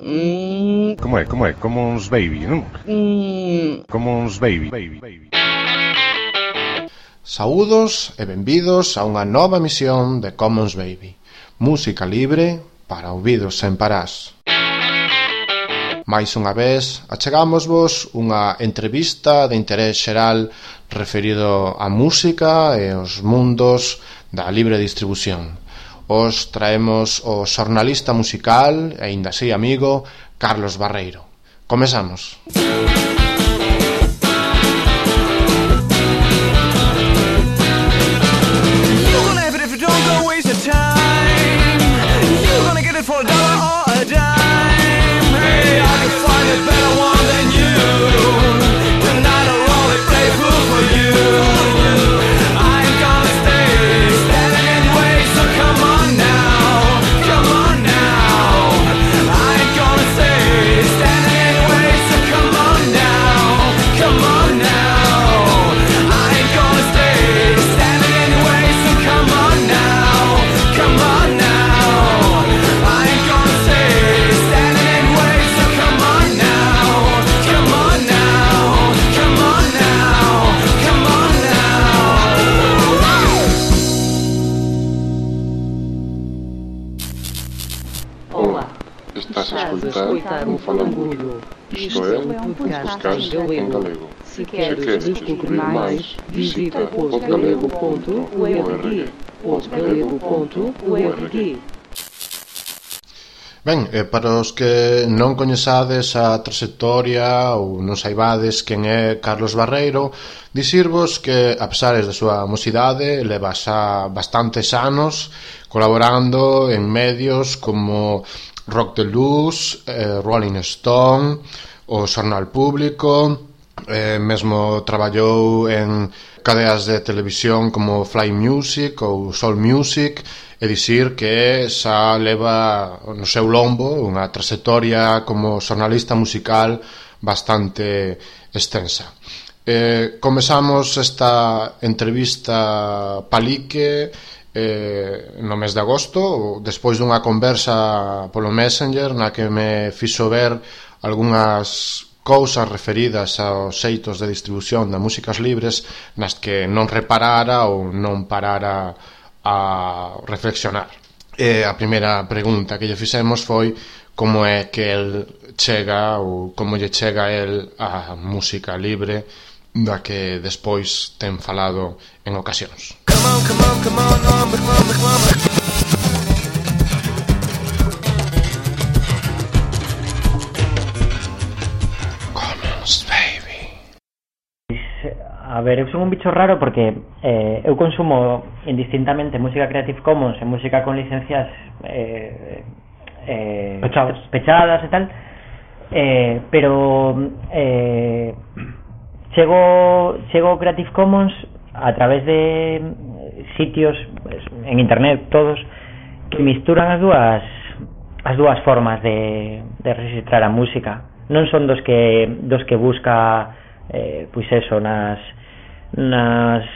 Como é? Commons Baby, non? Commons Baby. Saúdos e benvidos a unha nova emisión de Commons Baby, música libre para ouvidos sen parás. Mais unha vez, achegámosvos unha entrevista de interés xeral referido á música e aos mundos da libre distribución. Os traemos o xornalista musical e aínda así amigo Carlos Barreiro. Comezamos. Escutar o Falangudo. Isto é um podcast em galego. Se queres descobrir mais, visita postgalego.org. postgalego.org. Ben, para os que non coñezades a trayectoria ou non saibades quen é Carlos Barreiro, dicirvos que, a pesares da súa mocidade, leva xa bastantes anos colaborando en medios como Rock de Luz, Rolling Stone, o Xornal Público, mesmo traballou en cadeas de televisión como Fly Music ou Soul Music, e dicir que xa leva no seu lombo unha trayectoria como xornalista musical bastante extensa. Comezamos esta entrevista palique no mes de agosto, despois dunha conversa polo Messenger na que me fixo ver algunhas cousas referidas aos xeitos de distribución das músicas libres nas que non reparara ou non parara a reflexionar. E a primeira pregunta que lle fixemos foi como é que el chega ou como lle chega el a música libre da que despois ten falado en ocasións. Come on, Commons Baby. A ver, eu son un bicho raro porque eu consumo indistintamente música Creative Commons e música con licencias pechadas e tal, pero chego Creative Commons a través de sitios en internet todos que misturan as dúas formas de registrar a música. Non son dos que busca pois eso nos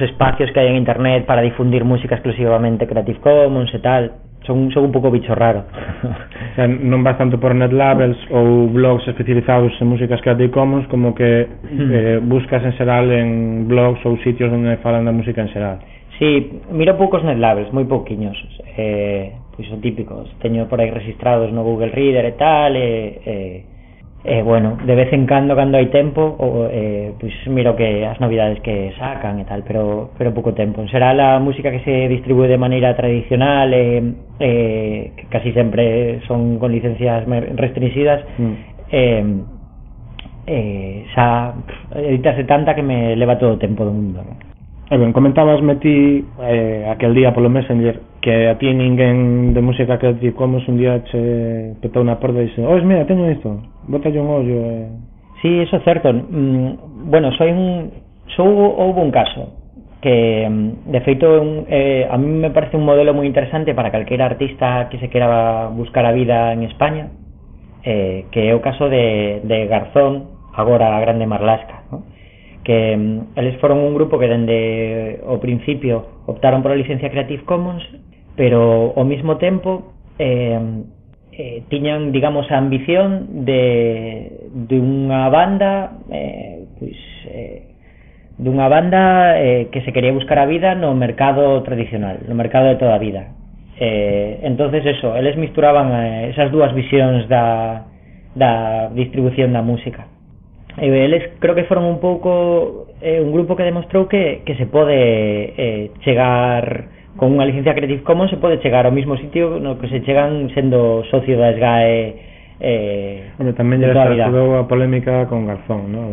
espacios que hai en internet para difundir música exclusivamente Creative Commons e tal. Son un pouco bicho raro. O sea, non vas tanto por netlabels ou blogs especializados en músicas Creative Commons como que buscas en xeral en blogs ou sitios onde falan da música en xeral. Sí, miro poucos netlabels, moi pouquiños. Pois son típicos. Teño por aí registrados no Google Reader e tal, bueno, de vez en cando hai tempo, pois miro que as novidades que sacan e tal, pero pouco tempo. En xeral a música que se distribúe de maneira tradicional que casi sempre son con licencias restringidas, xa editase tanta que me leva todo o tempo do mundo, ¿no? Ben, comentabasme ti aquel día polo Messenger que a ti ninguén de música Creative Commons un día che petou na porta e dixe: "Ois, mira, teño isto, bótalle un ollo". Sí, eso é certo. Bueno, houve un caso que, de feito, a mí me parece un modelo moi interesante para calquera artista que se quera buscar a vida en España, que é o caso de Garzón, agora a Grande Marlaska, ¿no? Que eles foron un grupo que dende o principio optaron por a licencia Creative Commons, pero ao mesmo tempo tiñan, digamos, a ambición de unha banda dunha banda que se quería buscar a vida no mercado tradicional, no mercado de toda a vida. Entonces eso, eles misturaban esas dúas visións da distribución da música. Eles creo que foron un pouco un grupo que demostrou que se pode chegar con unha licencia Creative Commons, se pode chegar ao mesmo sitio no que se chegan sendo socio da SGAE. Tamén lle estudou a polémica con Garzón, ¿no?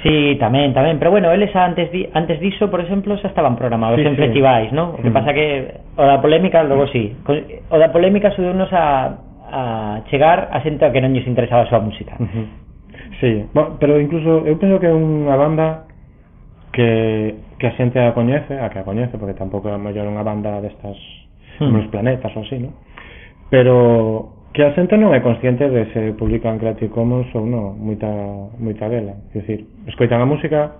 Sí, tamén, pero bueno, eles antes diso, por exemplo, xa estaban programados en festivais, ¿no? O que pasa que o da polémica, logo sí. O da polémica axudounos a chegar a xente a que non lles interesaba a súa música. Sí, bueno, pero incluso eu penso que é unha banda que a xente a coñece, porque tampouco é mellor unha banda destas como Los Planetas ou así, ¿no? Pero que a xente non é consciente de se publican Creative Commons ou non, moita dela. É dicir, escoitan a música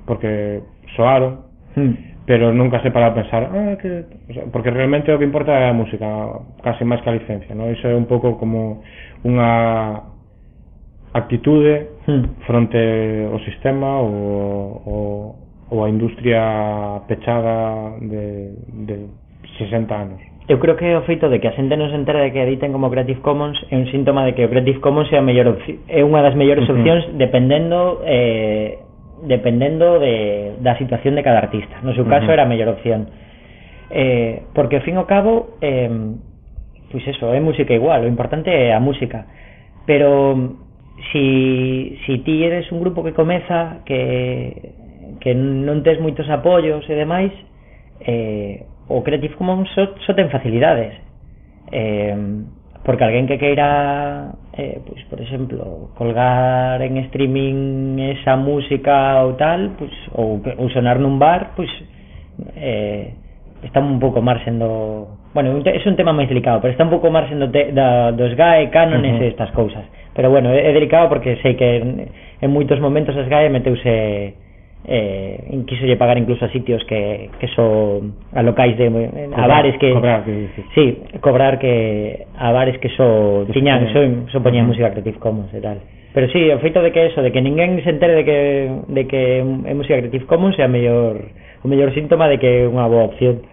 porque soaron, pero nunca se para a pensar porque realmente o que importa é a música, casi máis que a licencia, ¿no? Iso é un pouco como unha actitude fronte ao sistema ou a industria pechada de 60 anos. Eu creo que o feito de que a xente non se entere de que editen como Creative Commons é un síntoma de que o Creative Commons é unha das mellores opcións dependendo da situación de cada artista. No seu caso era a mellor opción, porque ao fin e ao cabo pois eso, é música igual, o importante é a música. Pero si ti eres un grupo que comeza que non tes moitos apoios e demais, o Creative Commons só ten facilidades, porque alguén que queira pois, por exemplo, colgar en streaming esa música ou tal, pois, ou sonar nun bar, pois está un pouco marxen do... Bueno, é un tema máis delicado, pero está un pouco marxen dos GAE, cánones e estas cousas. Pero bueno, é delicado porque sei que en moitos momentos as GAE meteuse quísolle pagar incluso a sitios que son a locais a bares que cobrar que a bares que so poñían música Creative Commons e tal. Pero sí, o feito de que eso, de que ninguén se entere de que é música Creative Commons é o mellor síntoma de que é unha boa opción.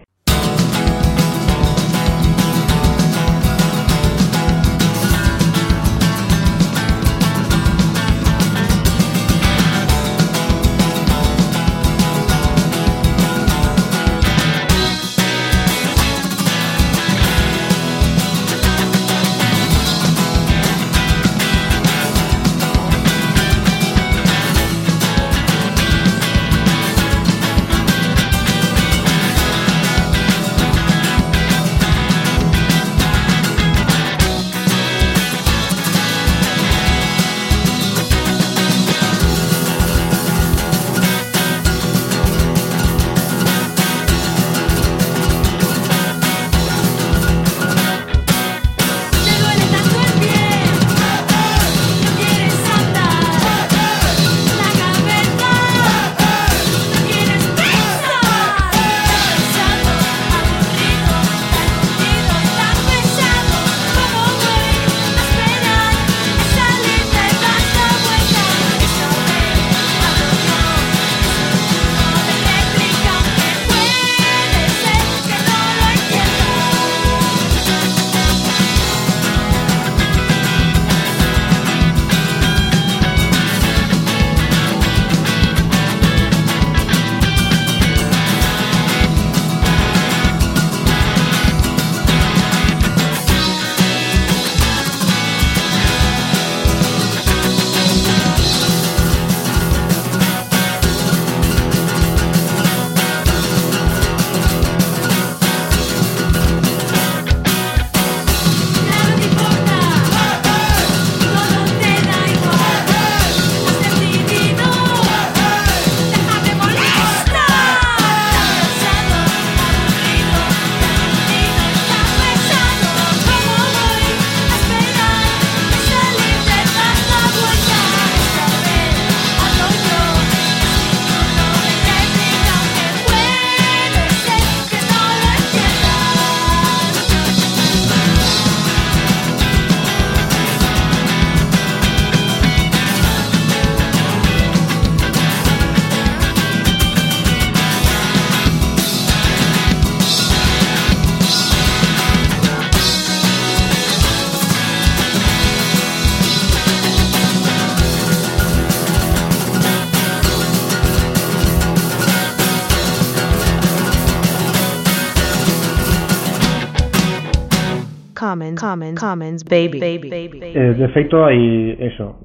Commons, baby. De feito, hai eso,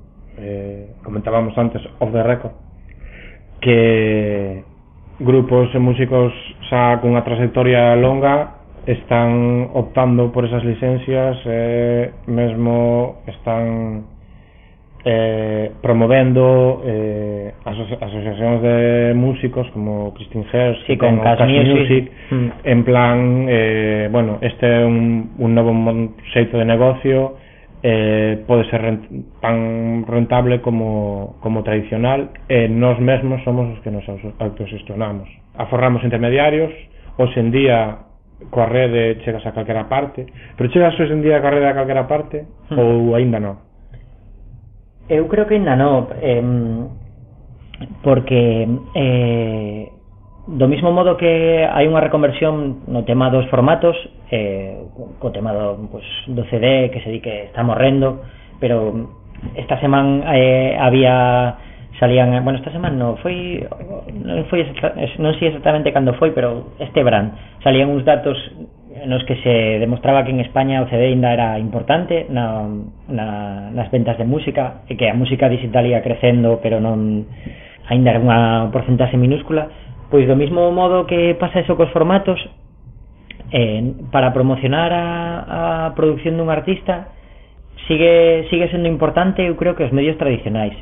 comentábamos antes, off the record, que grupos e músicos xa cunha trayectoria longa están optando por esas licencias, mesmo están promovendo asociacións de músicos como Christine Hersh, sí, con Cash Music, en plan, bueno, este é un novo xeito de negocio, pode ser tan rentable como tradicional, e nós mesmos somos os que nos autogestionamos, aforramos intermediarios. Hoxe en día coa rede chegas a calquera parte, pero chegas hoxe en día coa rede a calquera parte ou aínda non? Eu creo que ainda non, porque do mismo modo que hai unha reconversión no tema dos formatos, co tema do CD que se di que está morrendo, pero esta semana salían, bueno, esta semana non sei exactamente cando foi, pero este verán salían uns datos nos que se demostraba que en España o CD ainda era importante nas ventas de música, e que a música digital ia crecendo, pero non ainda era unha porcentaxe minúscula. Pois do mismo modo que pasa eso cos formatos, para promocionar a producción dun artista sigue sendo importante, eu creo, que os medios tradicionais.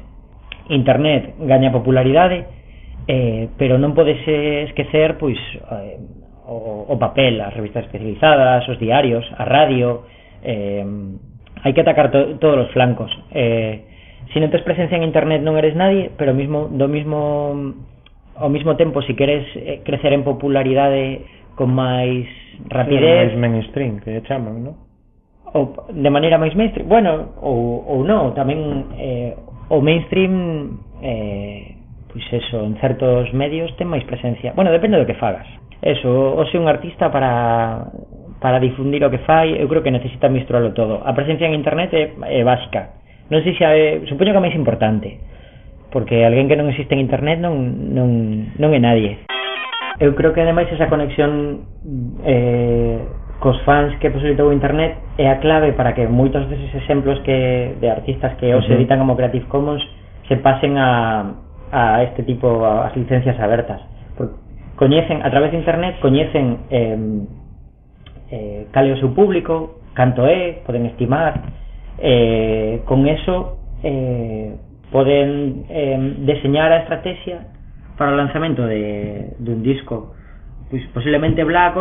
Internet gaña popularidade, pero non podes esquecer pois o papel, as revistas especializadas, os diarios, a radio. Hai que atacar todos os flancos. Se non tes presencia en internet non eres nadie, pero ao mismo tempo, se queres crecer en popularidade con máis rapidez, máis mainstream, que chaman, non? Ou de maneira máis mainstream, bueno, ou non, tamén o mainstream, pois eso, en certos medios ten máis presencia. Bueno, depende do que fagas. Eso, o se un artista para difundir o que fai, eu creo que necesita misturalo todo. A presencia en internet é básica. Non sei se supoño que é máis importante, porque alguén que non existe en internet non é nadie. Eu creo que ademais esa conexión cos fans que posibilitou internet é a clave para que moitos deses exemplos de artistas que hoxe editan como Creative Commons se pasen a este tipo, as licencias abertas. Coñecen, a través de internet, coñecen cal é o seu público, canto é, poden estimar, con eso poden deseñar a estrategia para o lanzamento dun disco. Pois posiblemente Black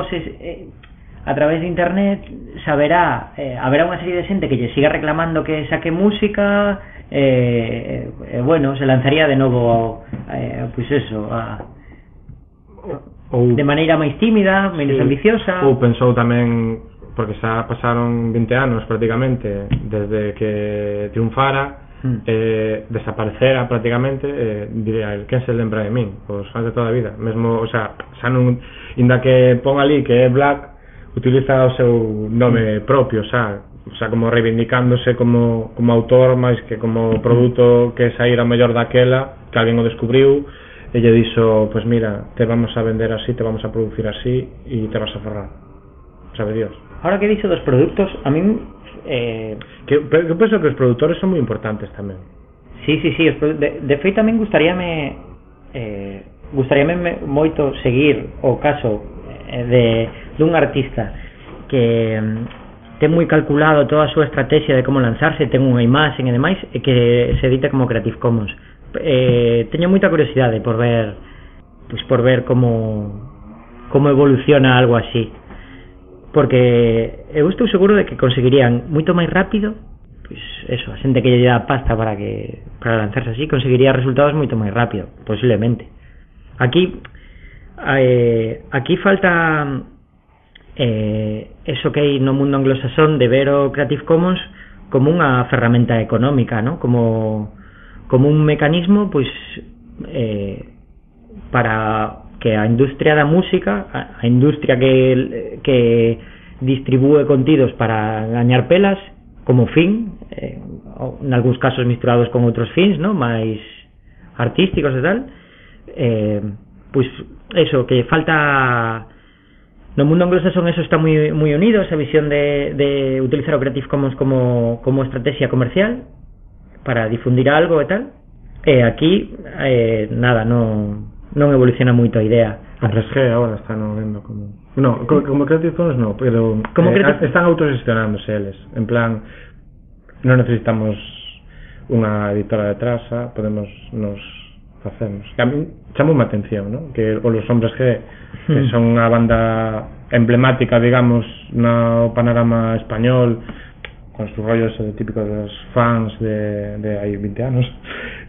a través de internet haberá unha serie de xente que lle siga reclamando que saque música, bueno, se lanzaría de novo pois eso, de maneira máis tímida, menos ambiciosa. Ou pensou tamén, porque xa pasaron 20 anos prácticamente desde que triunfara, desaparecera prácticamente, diría, quen se lembra de min? Os fans de toda a vida, mesmo, o sea, xa non, inda que pon ali que é Black, utiliza o seu nome propio, xa, o sea, como reivindicándose como autor máis que como produto que saíra mellor daquela, que alguén o descubriu e lle dixo, pues mira, te vamos a vender así, te vamos a producir así e te vas a forrar, sabe Dios. Ahora que he dicho dos productos, a mí que penso que os produtores son moi importantes tamén. Sí, de feito tamén gustaríame moito seguir o caso dun artista que ten moi calculado toda a súa estrategia de como lanzarse, ten unha imaxe e demais, e que se edita como Creative Commons. Teño moita curiosidade por ver como evoluciona algo así, porque eu estou seguro de que conseguirían moito máis rápido, pois eso, a xente que lle dá pasta para lanzarse así, conseguiría resultados moito máis rápido, posiblemente. Aquí falta eso que hai no mundo anglosasón de ver o Creative Commons como unha ferramenta económica, ¿no? Como un mecanismo, pois, para que a industria da música, a industria que distribúe contidos para gañar pelas, como fin, en algúns casos misturados con outros fins, ¿no? máis artísticos e tal, pois eso, que falta no mundo anglosajón eso está moi unido, esa visión de utilizar o Creative Commons como estrategia comercial para difundir algo e tal. Aquí nada, non evoluciona moito a idea. Hombres G agora están vendo como Creative Commons no, pero están autogestionándose eles, en plan non necesitamos unha editora detrás, podemos nos facemos. A mí chamoume a atención, ¿no? Que os Hombres G, que son unha banda emblemática, digamos, no panorama español, con sus rollos típicos de los fans de hai 20 anos,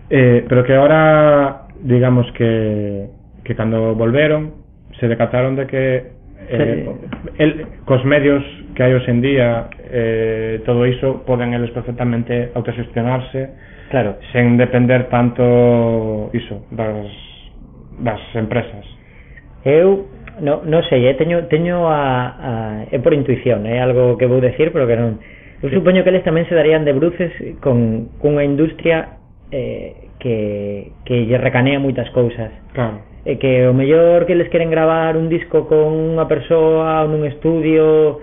pero que ahora, digamos que cando volveron se decataron de que cos medios que hai hoxe en día, todo iso poden eles perfectamente autogestionarse, claro, sen depender tanto iso das empresas. Eu non sei, teño é por intuición, é algo que vou decir, pero que non. Eu supoño que eles tamén se darían de bruces con unha industria que lle recanea moitas cousas. Claro. E que o mellor que les queren gravar un disco con unha persoa ou nun estudio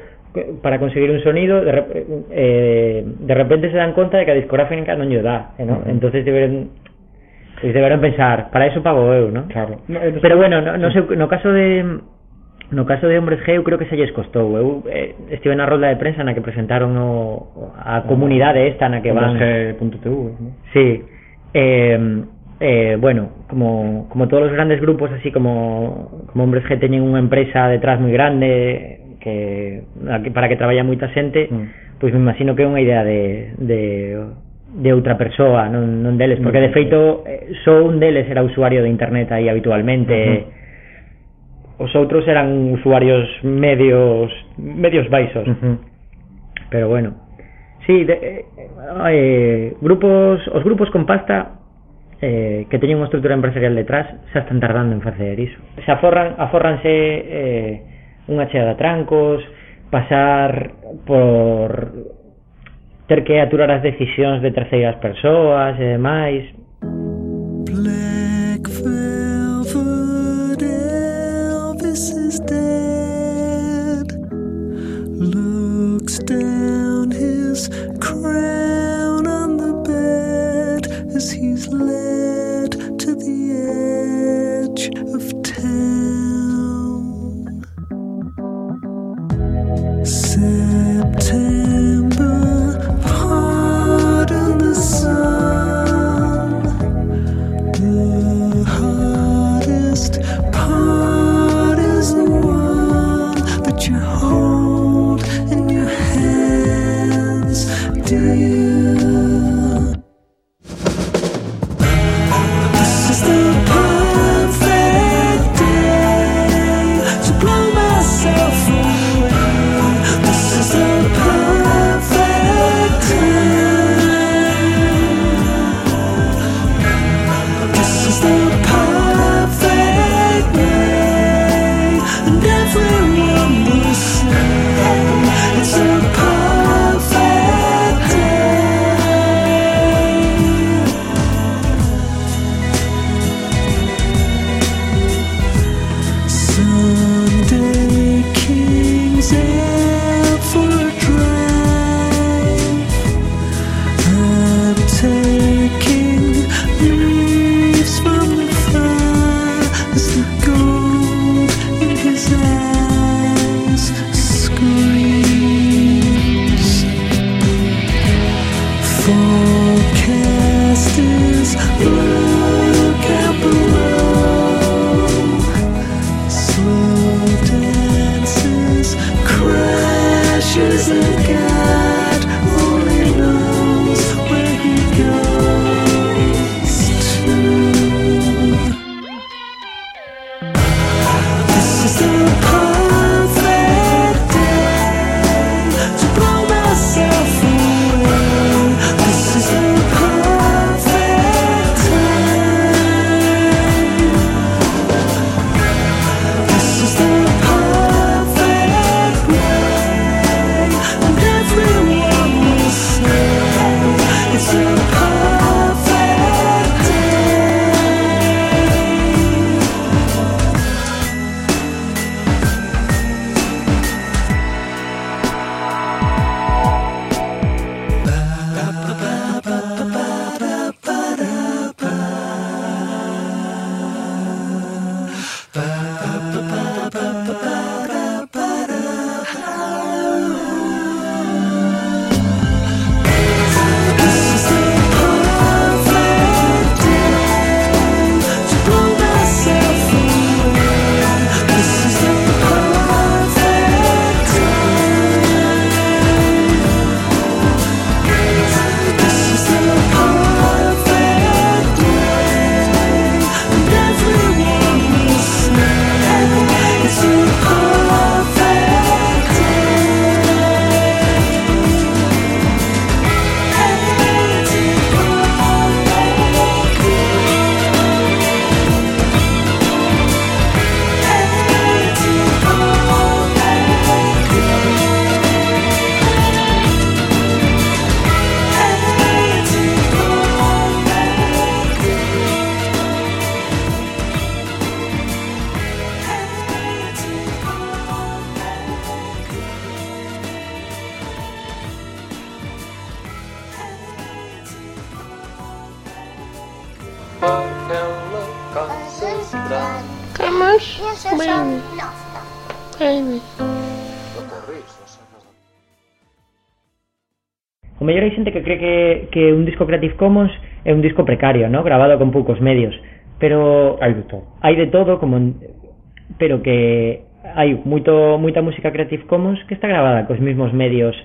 para conseguir un sonido, de repente se dan conta de que a discográfica non lle dá, ¿no? Entonces deberán pensar, para eso pago eu, ¿no? Claro. Pero bueno, no sei, no caso de Hombres G eu creo que se lles costou. Eu estive na rolda de prensa na que presentaron a comunidade esta na que van Hombresg.tv, ¿no? Sí. Bueno, como todos los grandes grupos, así como Hombres G teñen unha empresa detrás moi grande para que traballa moita xente, pois me imagino que é unha idea de outra persoa, non deles, porque de feito só un deles era usuario de internet aí habitualmente. Os outros eran usuarios medios baixos. Pero bueno, sí, os grupos con pasta que teñen unha estrutura empresarial detrás xa están tardando en facer iso. Se afórranse unha chea de trancos, pasar por ter que aturar as decisións de terceiras persoas e demais. Black velvet, Elvis is dead. Looks down his crown on the bed as he's led to the edge of town. September, pardon the sun. The hardest part is the one that you hold in your hands, dear. aquela casa grande. Camas, baby. Baby. O mellor hai xente que cree que un disco Creative Commons é un disco precario, ¿no? Grabado con poucos medios, pero hai de todo. Hai de todo, pero que hai moita música Creative Commons que está grabada cos mesmos medios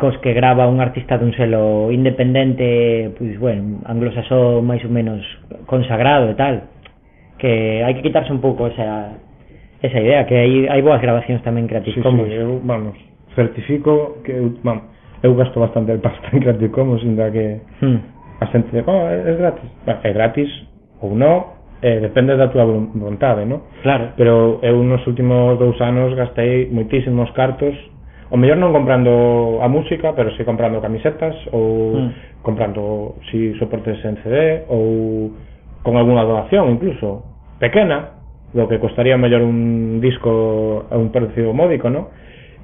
cos que grava un artista dun selo independente, pois bueno, anglosaxón máis ou menos consagrado e tal, que hai que quitarse un pouco esa idea, que hai boas grabacións tamén Creative Commons. Sí, eu, certifico que eu gasto bastante de pasta en Creative Commons, ainda que a xente é gratis. É gratis ou non, depende da túa vontade, non? Claro. Pero eu nos últimos 2 anos gastei moitísimos cartos, o mellor non comprando a música, pero si comprando camisetas ou comprando soportes en CD ou con algunha donación incluso pequena, lo que costaría mellor un disco a un precio módico, non?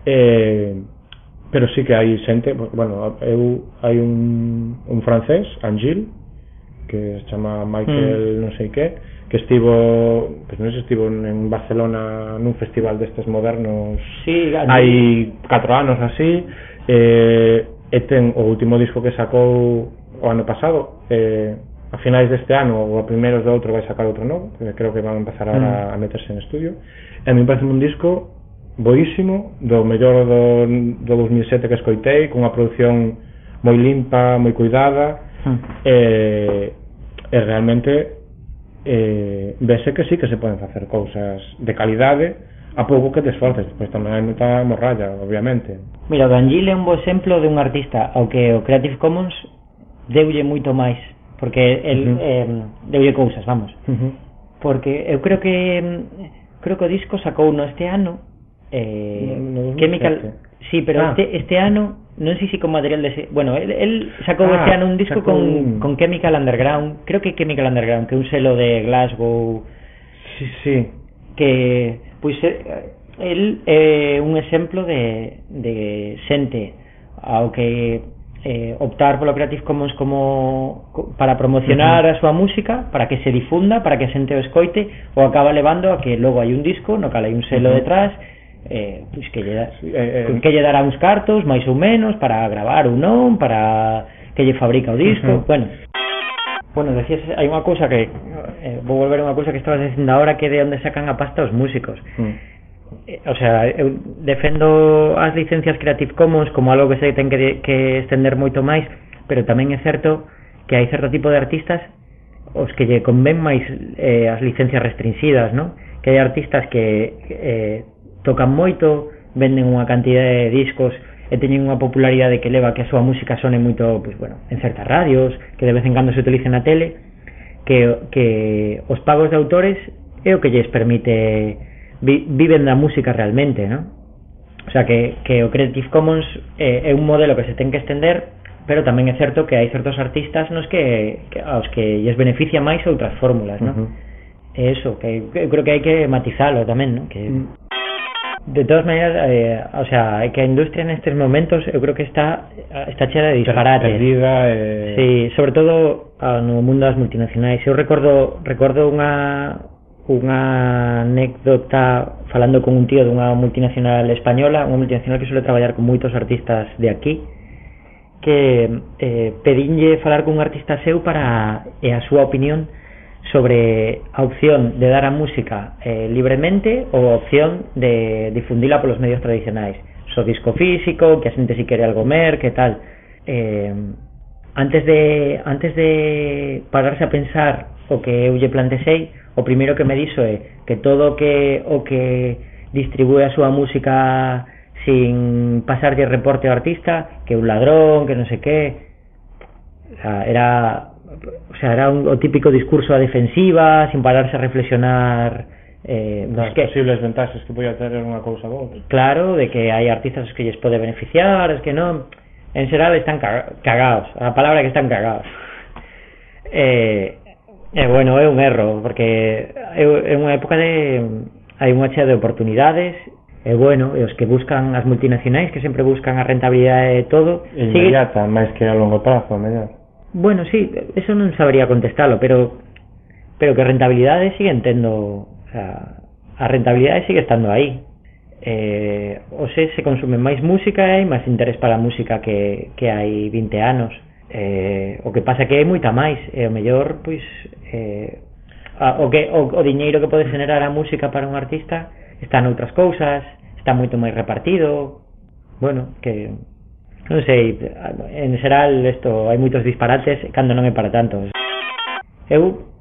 Pero sí que hai xente, bueno, hai un francés, Angil, que se chama Michael non sei que estivo, pues non sei se estivo en Barcelona nun festival destes modernos, sí, hai 4 anos así, e ten o último disco que sacou o ano pasado, a finais deste ano ou a primeiros do outro vai sacar outro novo, que creo que van a empezar ahora a meterse en estudio, e a mí parece un disco boísimo, do mellor do 2007 que escoitei, con unha produción moi limpa, moi cuidada, e realmente vese que sí que se poden facer cousas de calidade a pouco que te esforces. Pois tamén hai moita morralla, obviamente. Mira, o D'Angil é un bo exemplo de un artista ao que o Creative Commons deulle moito máis, porque deulle cousas, vamos. Porque eu creo que o disco sacou este ano Chemical, sí, pero este ano non sei se con material de bueno, él sacou este ano un disco con Chemical Underground, creo que Chemical Underground, que é un selo de Glasgow. Sí, que pois él é un exemplo de xente ao que optar polo Creative Commons como para promocionar a súa música, para que se difunda, para que a xente o escoite, ou acaba levando a que logo hai un disco no cal hai un selo detrás, pois que lle dará uns cartos máis ou menos para gravar ou non, para que lle fabrica o disco. Bueno, decías, hai unha cousa que vou volver a unha cousa que estabas dicindo agora, que de onde sacan a pasta os músicos. O sea, eu defendo as licencias Creative Commons como algo que se ten que estender moito máis, pero tamén é certo que hai certo tipo de artistas os que lle convén máis as licencias restringidas, non? Que hai artistas que tocan moito, venden unha cantidad de discos e teñen unha popularidade que leva que a súa música sone moito, pues bueno, en certas radios, que de vez en cando se utilice na tele, que os pagos de autores é o que lles permite viven da música realmente, ¿no? O sea que o Creative Commons é un modelo que se ten que estender, pero tamén é certo que hai certos artistas nos que aos que lles beneficia máis outras fórmulas, ¿no? Eso, que eu creo que hai que matizalo tamén, ¿no? Que de todas maneras, o sea, que a industria nestes momentos eu creo que está chea de disparates. Perdida, sí, sobre todo no mundo das multinacionais. Eu recordo unha anécdota falando con un tío dunha multinacional española, unha multinacional que suele traballar con moitos artistas de aquí, que pedinlle falar con un artista seu para a súa opinión sobre a opción de dar a música libremente ou a opción de difundila polos medios tradicionais, so disco físico, que a xente si quere algo que tal. Antes de pararse a pensar o que eu lle plantexei, o primeiro que me dixo é que todo o que distribúe a súa música sin pasarlle reporte ao artista, que é un ladrón, que non sei que. Era o típico discurso a defensiva, sin pararse a reflexionar das posibles ventaxas que podía ter unha cousa ou outra. Claro, de que hai artistas que lles pode beneficiar, es que non, en xeral están cagados, a palabra que están cagados. Bueno, é un erro, porque é unha época hai unha chea de oportunidades, e bueno, e os que buscan as multinacionais, que sempre buscan a rentabilidade de todo, inmediata, máis que a longo prazo, mellor. Bueno, sí, eso non sabería contestalo, pero que rentabilidade sigue entendo, o sea, a rentabilidade sigue estando aí. Se consume máis música e hai máis interés para a música que hai 20 anos. O que pasa que hai moita máis, e o mellor, pois, o diñeiro que pode generar a música para un artista está noutras cousas, está moito máis repartido. Bueno, que non sei, en xeral isto hai moitos disparates cando non é para tanto. Eu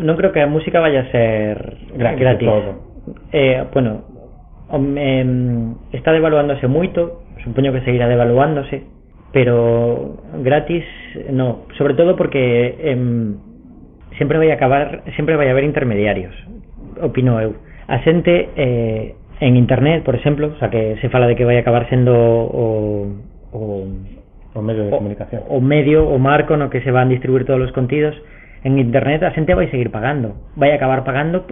non creo que a música vaya a ser gratis. Bueno, está devaluándose moito, supoño que seguirá devaluándose, pero gratis no, sobre todo porque sempre vai haber intermediarios, opino eu. A xente en internet, por exemplo, o sea, que se fala de que vai acabar sendo o medio de comunicación, o marco no que se van a distribuir todos os contidos. En internet a xente vai seguir pagando, vai acabar pagando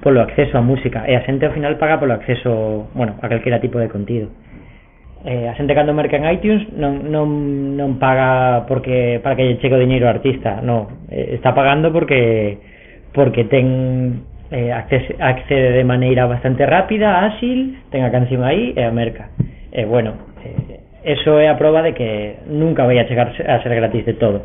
polo acceso a música, e a xente ao final paga polo acceso, bueno, a calquera tipo de contido. A xente cando merca en iTunes non paga porque para que lle chegue o diñeiro ao artista, non, está pagando porque ten accede de maneira bastante rápida, áxil, ten a canción aí e a merca. Bueno, eso é a proba de que nunca vai a chegar a ser gratis de todo.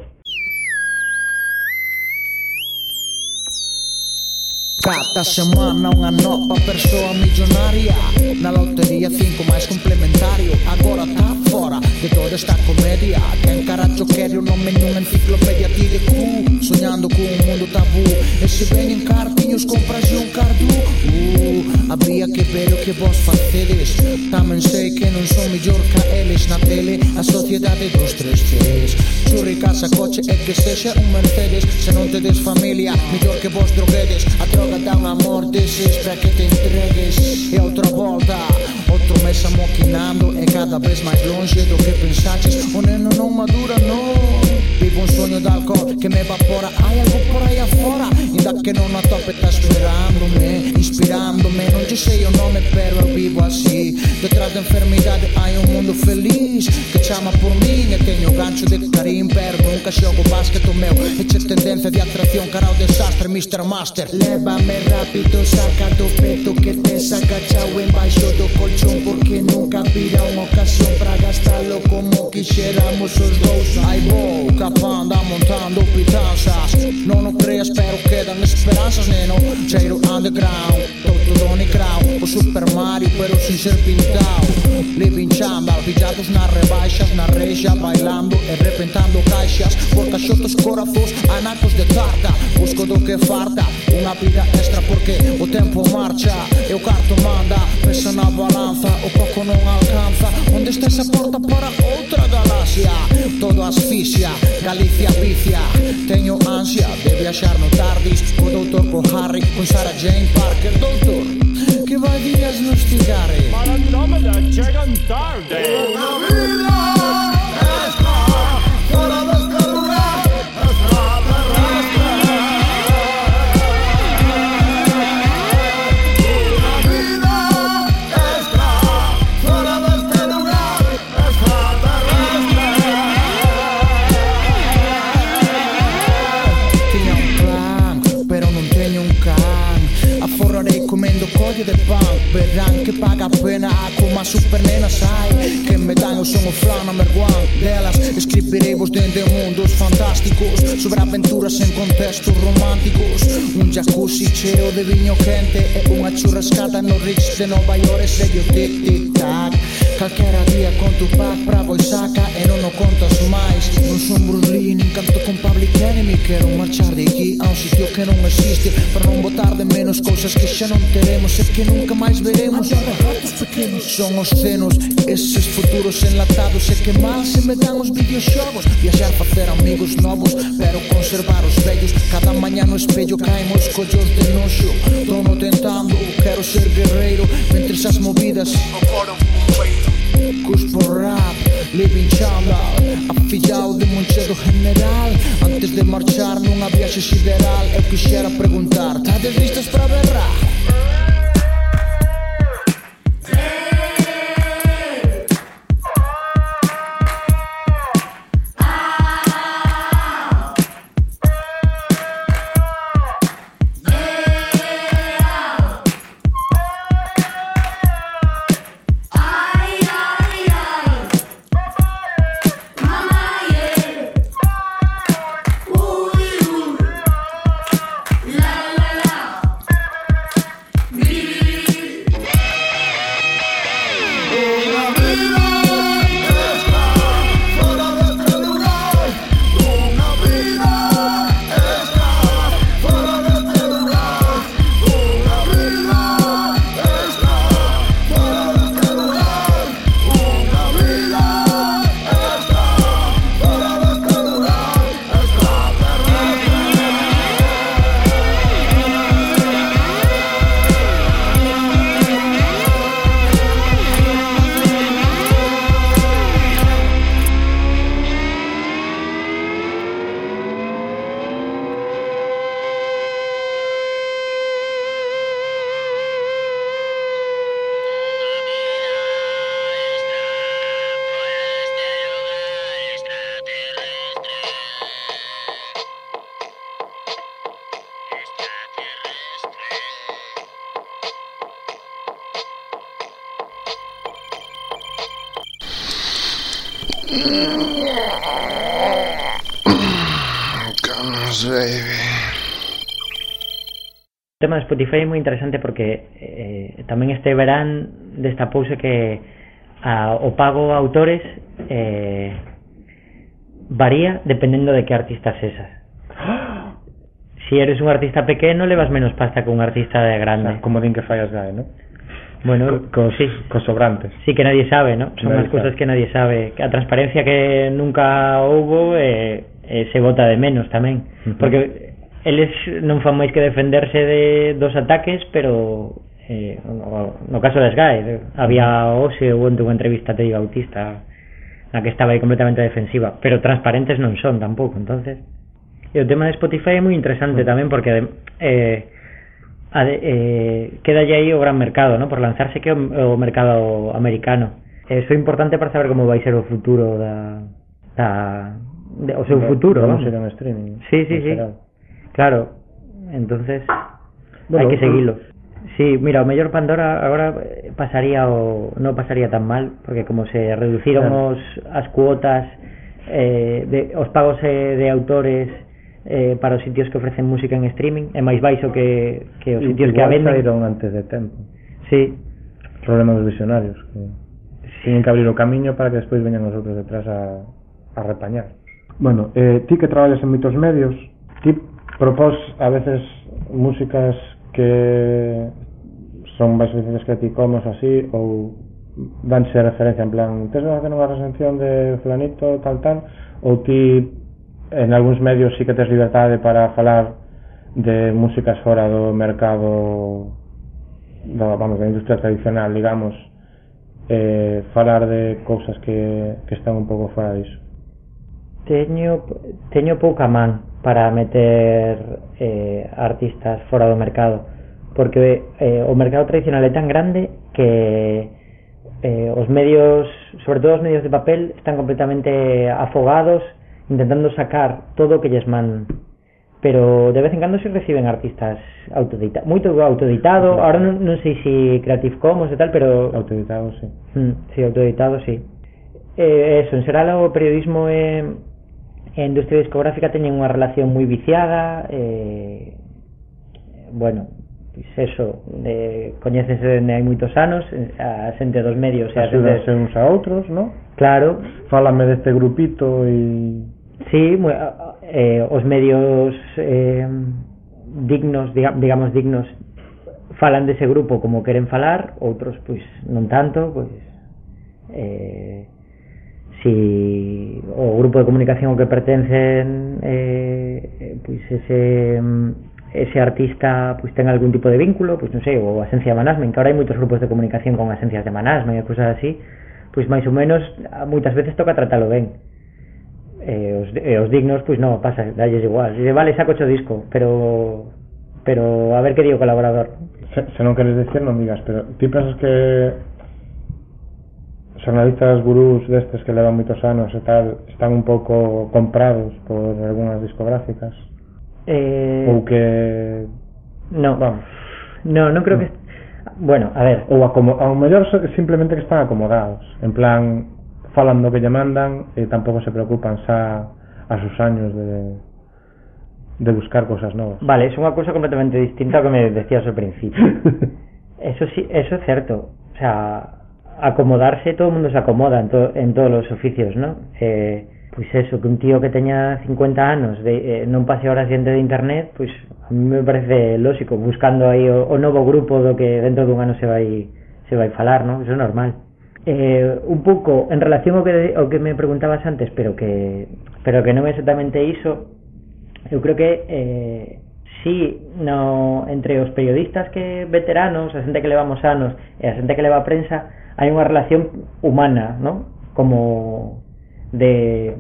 Cada semana unha nova persoa millonaria, na lotería 5 máis complementario. Agora tá fora de toda esta comedia. Quen caracho quere o nome nunha enciclopedia TDQ, soñando con un mundo tabú. E se ven en cartiños compras un cardú. Habría que ver o que vos facedes. Tamén sei que non son mellor que eles na tele. A sociedade dos 3 Cs, churri, casa, coche e que sexa un Mercedes. Se non tedes familia, mellor que vos droguedes. A droga dá un amor deses para que te entregues. E outra volta, outro mes amoquinando, e cada vez máis longe do que pensaches. O neno non madura, non. Vivo un soño de alcohol que me evapora. Hai algo por aí afora, ainda que non a tope está esperándome, inspirándome. Non te sei o nome, pero eu vivo así. Detrás da enfermidade hai un mundo feliz que chama por min. E teño gancho de Karim, pero nunca xogo básquet o meu. Eche tendencia de atracción cara ao desastre, Mr. Master. Lévame rápido, saca do peto que tes agachao embaixo do colchón, porque nunca virá unha ocasión para gastalo como quixéramos os dous. Ai vou, capanda montando pitanzas, non o creas pero quedan esperanzas, neno. Cheiro underground, todo Donny Crown, o Super Mario pero sin ser pintado. Living Chandal, pillados nas rebaixas, na rexa, bailando e repentando caixas, por caixotos, corazos, anacos de tarta. Busco do que farta, unha vida extra porque o tempo marcha e o carto manda. Pesa na balanza, o coco non alcanza. Onde está esa porta para outra galaxia? Todo asfixia, Galicia vicia. Teño ansia de viaxar no Tardis, co doutor, co Harry, con Sarah Jane Parker. Doutor, que vai diagnosticar? Para Andrómeda chegan tarde. Unha vida extra, fora deste lugar, extraterrestre. Unha vida extra, fora deste lugar, extraterrestre. Tiña un plan, pero non teño un can. Aforrarei comendo colle de pan. Verán que paga a pena como a super nena, sai que me dan o son o flan number one delas. Escribiremos dende mundos fantásticos, sobre aventuras en contextos románticos. Un jacuzzi cheo de viño quente e unha churrascada no Ritz de Nova York. E sello tic-tic-tac, calquera día con tu pack bravo e saca e non o contas máis. Non son Bruce Lee, nin canto con Public Enemy. Quero marchar de aquí a un sitio que non existe, para non botar de menos cousas que xa non teremos e que nunca máis veremos. Son os cenos, eses futuros enlatados. E que mal se me dan os videoxogos. Viaxar, facer amigos novos, pero conservar os vellos. Cada mañá no espello caemos collos de noxo. Tono tentando, quero ser guerreiro, mentres as movidas cuspo rap, living chandal, afillado de Monchedo General. Antes de marchar nunha viaxe sideral, eu quixera preguntar: tades listos para berrar? Vamos, O tema de Spotify é moi interesante porque tamén este verán destapouse que o pago a autores varía dependendo de que artista sesas. Si eres un artista pequeno levas menos pasta que un artista de grande. O sea, como din que fai as GAE, ¿no? Bueno, Cos sobrantes. Sí, que nadie sabe, ¿no? Son Nadie as cousas sabe. que nadie sabe. A transparencia que nunca houbo se vota de menos tamén. Porque eles non fan máis que defenderse dos ataques, pero no caso das GAE había hoxe ou onte unha entrevista a Teddy Bautista na que estaba aí completamente defensiva, pero transparentes non son tampouco. Entonces, e o tema de Spotify é moi interesante tamén porque quedalle aí o gran mercado, ¿no? Por lanzarse que o mercado americano. Eso é importante para saber como vai ser o futuro o seu futuro, vamos vamos. a ir en streaming. Sí. Claro, entonces hai que seguilo. Sí, mira, o mellor Pandora agora non pasaría tan mal, porque como se reduciron as cuotas os pagos de autores para os sitios que ofrecen música en streaming é máis baixo que os sitios que a venden. Saíron antes de tempo. Sí. Problema dos visionarios que tienen que abrir o camiño para que despois veñan os outros detrás a repañar. Bueno, ti que traballas en moitos medios, ti propós a veces músicas que son máis licencias Creative Commons así, ou danse referencia en plan tes que facer unha recensión de fulanito tal, ou ti en algúns medios sí que tes libertade para falar de músicas fora do mercado da industria tradicional, digamos, falar de cousas que están un pouco fora disso? Teño pouca man para meter artistas fora do mercado, porque o mercado tradicional é tan grande que os medios, sobre todo os medios de papel, están completamente afogados intentando sacar todo o que lles mandan, pero de vez en cando se reciben artistas moito autoeditado. Ahora non sei se Creative Commons e tal, pero autoeditado, sí. Sí, autoeditado, sí. Eso, en xeral o periodismo e a industria discográfica teñen unha relación moi viciada, bueno, pois eso, coñécense dende hai moitos anos, a xente dos medios axudanse uns a outros, ¿no? Claro. Fálame deste grupito e... Sí, os medios dignos, digamos dignos, falan dese grupo como queren falar, outros pois non tanto, pois si o grupo de comunicación ao que pertencen pois ese artista pois ten algún tipo de vínculo, pois non sei, ou a Asencia de Management, que ahora hai moitos grupos de comunicación con asencias de Management e cousas así, pois máis ou menos moitas veces toca tratalo ben. Os dignos, pois non, pasa, dalles igual. Se vale, saco o disco, pero a ver que di o colaborador. Se non queres decir, non digas, pero ti pensas que xornalistas gurús destes que levan moitos anos e tal están un pouco comprados por algunhas discográficas? Ou que... Non, vamos. Non creo que... Bueno, a ver, ou ao mellor simplemente que están acomodados, en plan falan do que lle mandan e tampouco se preocupan xa a sus años de buscar cosas novas. Vale, é unha cousa completamente distinta ao que me decías ao principio. Eso sí, eso é certo. O sea, acomodarse, todo o mundo se acomoda en todos os oficios, ¿no? Pois eso, que un tío que teña 50 anos non pase horas diante de internet, pois a mí me parece lógico, buscando aí o novo grupo do que dentro dun ano se vai falar, ¿no? Eso é normal. Un pouco en relación ao que me preguntabas antes, pero que non é exactamente iso, eu creo que si entre os periodistas que veteranos, a xente que levamos anos e a xente que leva a prensa, hai unha relación humana, ¿no? Como de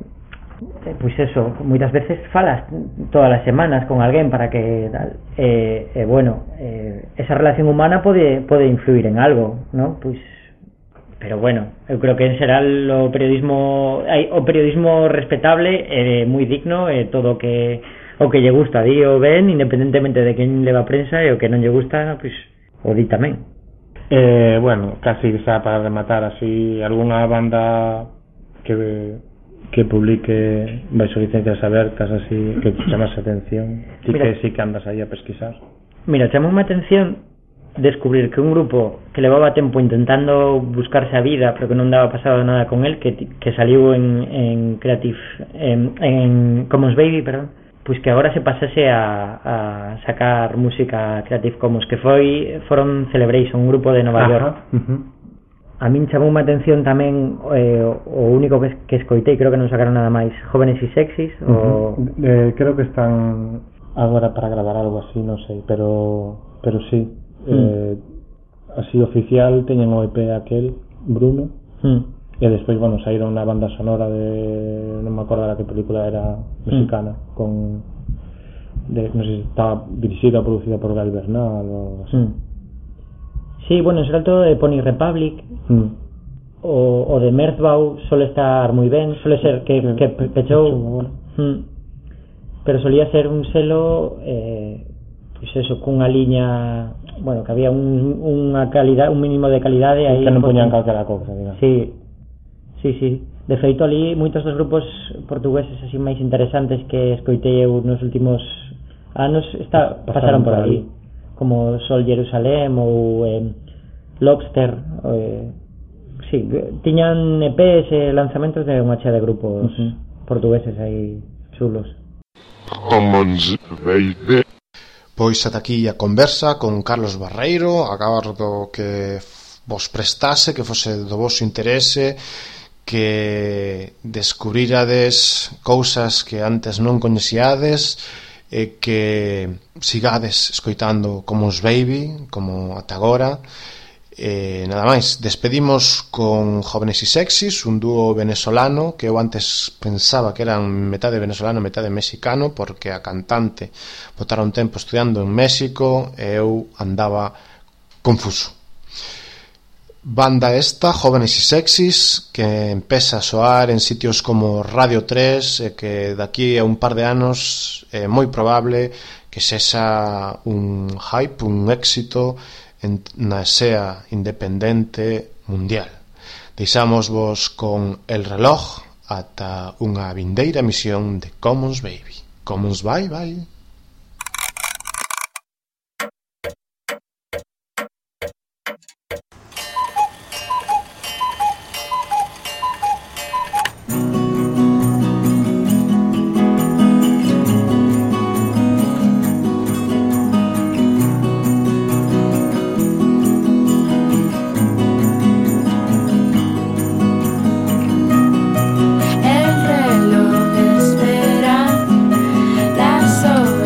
pois eso, moitas veces falas todas as semanas con alguén para que tal, bueno, esa relación humana pode influir en algo, ¿no? Pois, pero bueno, eu creo que en xeral o periodismo respetable é moi digno, todo o que lle gusta di o ben, independentemente de quen leva a prensa, e o que non lle gusta, pois o di tamén. Bueno, casi xa para rematar así, algunha banda que que publique baixo licencias abertas así que chamas a atención ti que sí que andas aí a pesquisar? Mira, chamou a atención descubrir que un grupo que levaba tempo intentando buscarse a vida pero que non daba pasado nada con él que saliu en Creative en Commons Baby, perdón, pois que agora se pasase a sacar música Creative Commons, que foron Celebration, un grupo de Nova York. A min chamou a atención tamén o único que escoitei, creo que non sacaron nada máis, Jóvenes y Sexys creo que están agora para gravar algo así, non sei, pero sí. Así oficial teñen o EP aquel Bruno e despois, bueno, saíron na banda sonora de non me acordo de que película era mexicana non sei se estaba dirixida ou producida por Gal Bernal ou así. Sí, bueno, será todo de Pony Republic o de Merzbow, suele estar moi ben, suele ser que pechou pero solía ser un selo pois eso, cunha liña, bueno, que había unha calidad, un mínimo de calidade aí, que non poñan calquera cousa, digamos. Sí. De feito ali moitos dos grupos portugueses así máis interesantes que escoitei eu nos últimos anos pasaron por ali, como Sol Jerusalem ou Lobster, sí, tiñan EPs e lanzamentos de unha chea de grupos portugueses aí chulos. Commons Baby. Pois ata aquí a conversa con Carlos Barreiro. Agardo que vos prestase, que fose do vosso interese, que descubrirades cousas que antes non coñecíades e que sigades escoitando Commons Baby como ata agora. Nada máis, despedimos con Jóvenes y Sexys, un dúo venezolano que eu antes pensaba que eran metade venezolano, metade mexicano, porque a cantante botara un tempo estudiando en México e eu andaba confuso. Banda esta, Jóvenes y Sexys, que empeza a soar en sitios como Radio 3 e que daqui a un par de anos é moi probable que sexa un hype, un éxito na escena independente mundial. Deixámosvos con El Reloj ata unha vindeira emisión de Commons Baby. Commons bye bye. El reloj espera las horas.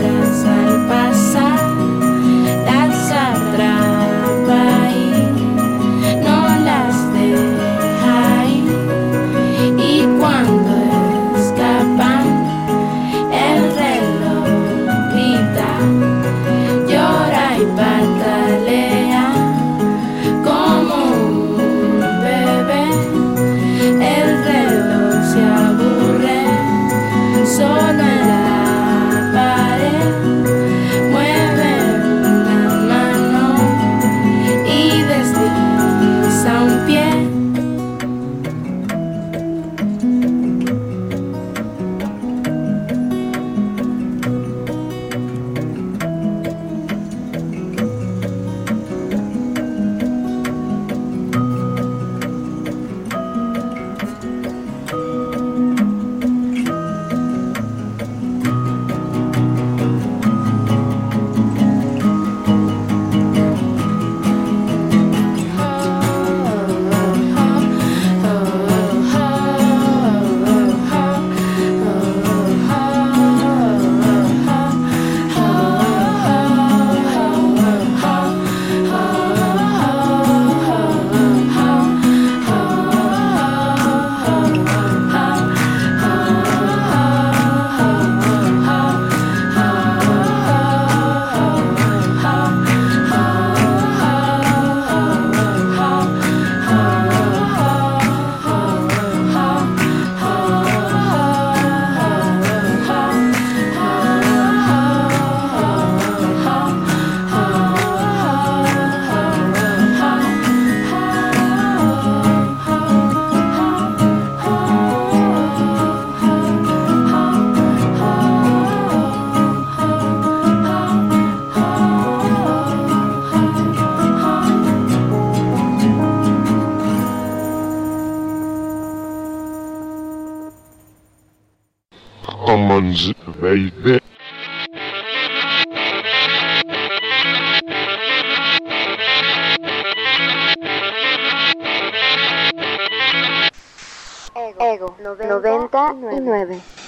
Jones, baby. Ego 99.